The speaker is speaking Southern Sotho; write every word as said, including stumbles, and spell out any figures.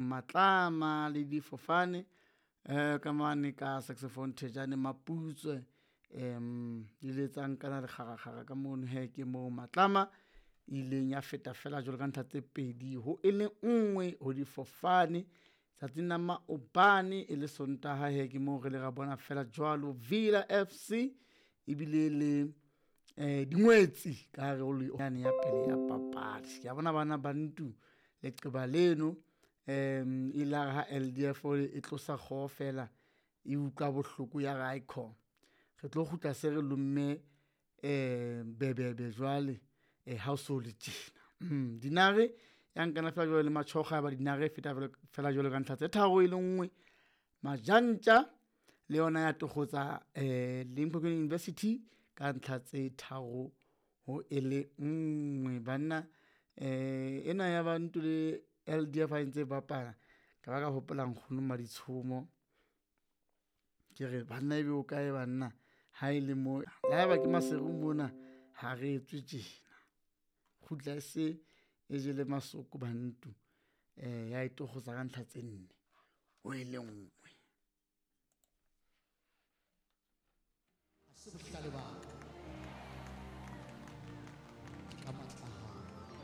Matlama le difofane eh ka mane ka saxophone Thejane Maputswe em di letsang kana lekgarakgara ka mono he ke moo Matlama ileng ya feta fela jwalo ka ntlha tse pedi ho e le nngwe ho difofane tsatsing la maobane e le Sontaha he ke moo re le ra bona fela jwalo Villa F C ebile le eh dingwetsi ka hare ho yane ya pele ya papadi. Ke a bona bana ba ntu leqeba leno um ilare ha L D F e tlosa kgoho fela e utlwa bohloko ya re aikhona re tlo kgutla se re lomme um bebebe jwale ha o so le tjena. Dinare ya nkana fela jwalo le Matjhokgo ya ba Dinare e feta fela jwalo ka ntlha tse tharo e le nngwe. Majantja le yona ya tokgotsa um Limpopo University ka ntlha tse tharo ho e le nngwe. Banna um ena ya Bantu le L D F ha e ntse e bapala ka ba ka hopola nkgono Maditshomo. Ke re banna ebe o kae banna ha e le mo, le haeba ke Maseru mona ha re etswe tjena. Kgutla e se e jele masoko Bantu um ya e tokgotsa ka ntlha tse nne ho e le nngwe. Ha se bohlale ba